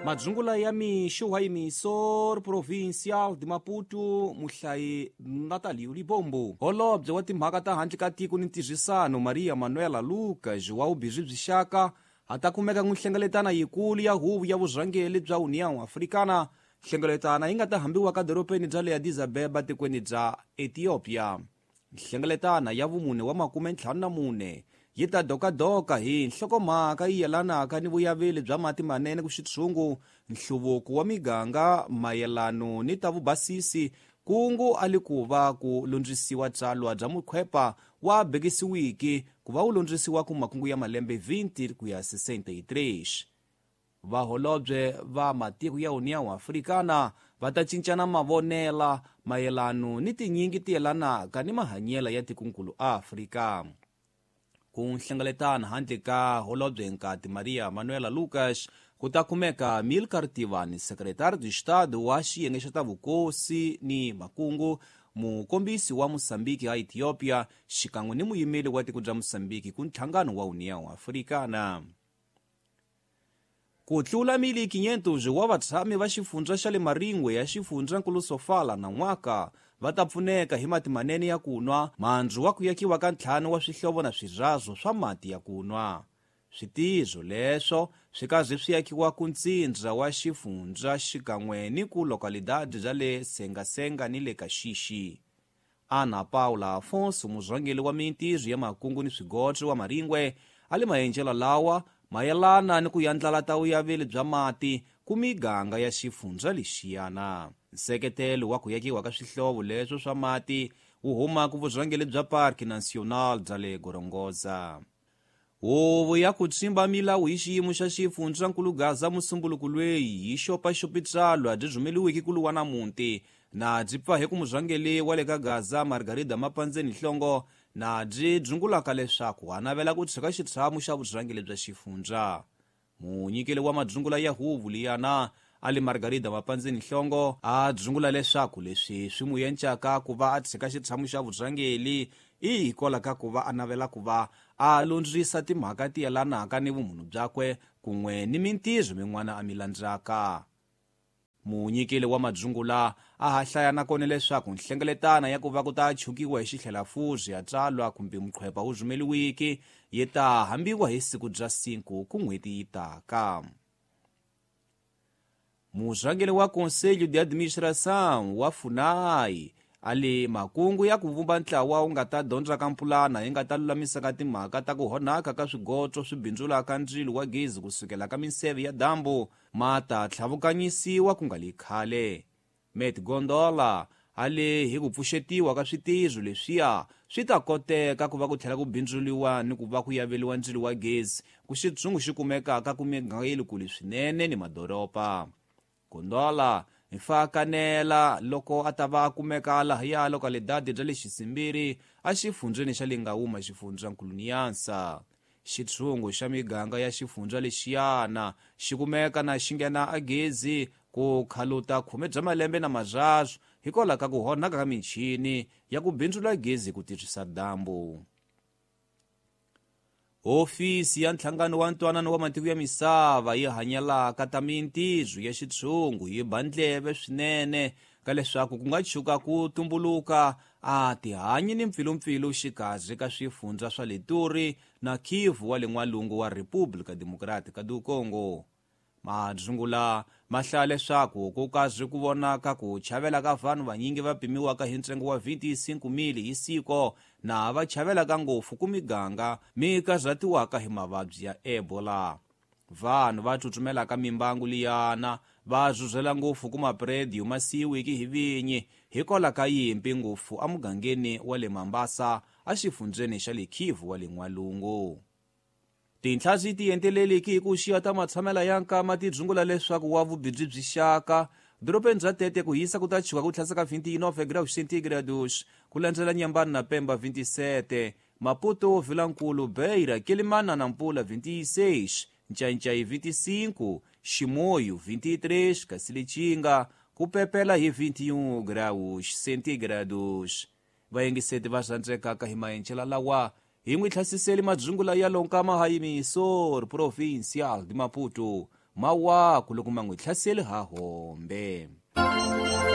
Madzungula ya mixo wa Emissor Provincial de Maputo, muhlayi Natalio Libombo. Holobye wa timhaka ta handle ka tiko ni ntirhisano Maria Manuela Lucas wa vubirhi byi xaka a ta kumeka ku nhlengeletana yikulu ya huvo ya vurhangeri bya União Africana. Nhlengeletana yi nga ta hambiwa ka doropeni bya le Addis Abeba tikweni bya Ethiopia. Nhlengeletana ya vumune wa 54 yi ta dokadoka hi nhlokomhaka yi yelanaka ni vuyaveli bya mati manene ku xitshungu, nhluvuko wa miganga mayelano ni ta vubasisi, kungu a li ku va ku lundzisiwa tsalwa bya mukhwepa wa bekisiwiki ku va wu lundzisiwa ku makungu ya malembe 20 ku ya 63. Vaholobye va matiko ya União Africana va ta cincana mavonela mayelano ni tinyingi ti yelanaka ni mahanyelo ya tikonkulu Afrika. Ku nhlengeletana handle ka holobye nkati Maria Manuela Lucas ku ta kumeka Milcar Tivani, secretário de Estado wa xiyenge xa ta vukosi ni makungu, mukombisi wa Mosambiki a Ethiopia, xikan'we ni muyimeli wa tiko bya Mosambiki ku nhlangano wa União Africana. Ku tlula 1,500 wa vatshami va xifundza xa le Maringwe ya xifundzankulu Sofala na n'waka va ta pfuneka hi mati manene ya ku nwa, mandzu wa ku yakiwa ka 5 wa swihlovo na swirhazo swa mati ya ku nwa. Switizo leswo swi kaze swi yakiwa ku ntsindza wa xifundza xikan'we ni ku lokalidade bya le Sengasenga ni le Kaxixi. Ana Paula Afonso, murhangeri wa mintirho ya makungu ni swigodzo wa Maringwe, a le maenjelo lawa mayelana ni ku yandlala ta vuyaveli bya mati ku miganga ya xifundza lexiyana. Nseketelo wa ku yakiwa ka swihlovo leswo swa mati wu huma ku vurhangeri bya Parque Nacional bya le Gorongosa. Huvo ya ku tsimba milawu hi xiyimo xa xifundzankulu Gaza musumbuluku lweyi yi xopaxopi tsalwa byi rhumeliweke ku luwa na muti na byi pfa hi ku murhangeri wa le ka Gaza Margarida Mapandzeni Hlongo na byi dzungulaka leswaku a navela ku tshika xitshamo xa vurhangeri bya xifundza. Munyikeli wa madzungula ya huvo liyana a li Margarida Mapandzeni Hlongo a dzungula leswaku leswi swi n'wi encaka ku va a tshika xitshamo xa vurhangeri i hikwalaho ka ku va a navela ku va a lundzisa timhaka ti yelanaka ni vumunhu byakwe kun'we ni mintirho min'wana a mi landzaka. Munyikeli wa madzungula a ha hlaya nakona leswaku nhlengeletana ya ku va ku ta chukiwa hi xihlelafuzi ya tsalwa kumbe muqhwepa wu rhumeliwiki yi ta hambiwa hi siku bya 5 ku n'hweti yi taka. Murhangeri wa Conselho de Administração wa FUNAI a le makungu ya ku vumba ntlawa wu nga ta dyondzaka mpulana yi nga ta lulamisaka timhaka ta ku honaka ka swigotso swi bindzulaka ndzilo wa gezi kusukela ka minseve ya dambu ma ta tlhavukanyisiwa ku nga li khale. Met Gondola a le hi ku pfuxetiwa ka switirho leswiya swi ta koteka ku va ku tlhela ku bindzuliwa ni ku va ku yaveliwa ndzilo wa gezi ku xitshungu xi kumekaka ku miganga ya le kule swinene ni madoropa. Gondola hi fa kanela loko a ta va a kumeka lahaya lokalidade bya le Xisimbiri a xifundzeni xa le Ngawuma xifundzankulu Niansa. Xitshungu xa miganga ya xifundza lexiyana xi kumeka na xi nghena a gezi ku khaluta 10 bya malembe na marharu hikwalaho ka ku honaka ka michini ya ku bindzula gezi ku tirhisa dambu. Hofisi ya nhlangano wa ntwanano wa matiko ya misava yi hanyelaka ta mintirho ya xitshungu yi ba ndleve swinene ka leswaku ku nga tshuka ku tumbuluka a tihanyi ni mpfilumpfilu xikarhi ka swifundza swa le Turi na Kivu wa le n'walungu wa República Democrática do Congo. Madzungula ma hlaya leswaku ku kazi ku vonaka ku chavela ka vanhu vanyingi va pimiwaka hi ntsengo wa 25,000 hi siko na va chavelaka ngopfu ku miganga mi karhatiwaka hi mavabyi ya Ebola. Vanhu va tsutsumelaka mimbangu liyana va zuzela ngopfu ku maprediyo ma siyiwiki hi vinyi hikwalaho ka yimpi ngopfu emugangeni wa le Mambasa exifundzeni xa le Kivu wa le n'walungu. Tinhla ti enteleliki hi ku xiya ta matshamela ya nkama ti dzungula leswaku wa vubibyi byi xaka doropeni bya Tete ku hisa ku ta chuka ku tlhasa ka 29 graus centigrados ku landzela Nyambani na Pemba 27, Maputo, Vilankulu, Beira, Quelimana na Nampula 26, Ncancai 25, Chimoio 23, kasi Lichinga ku pepela hi 21 graus centigrados. Vayingiseti va rhandzekaka hi maenjela lawa hi n'wi hlasiseli madzungula ya lonkama ha Emissor Provincial de Maputo. Mawaku loko ma n'wi hlaseli ha hombe!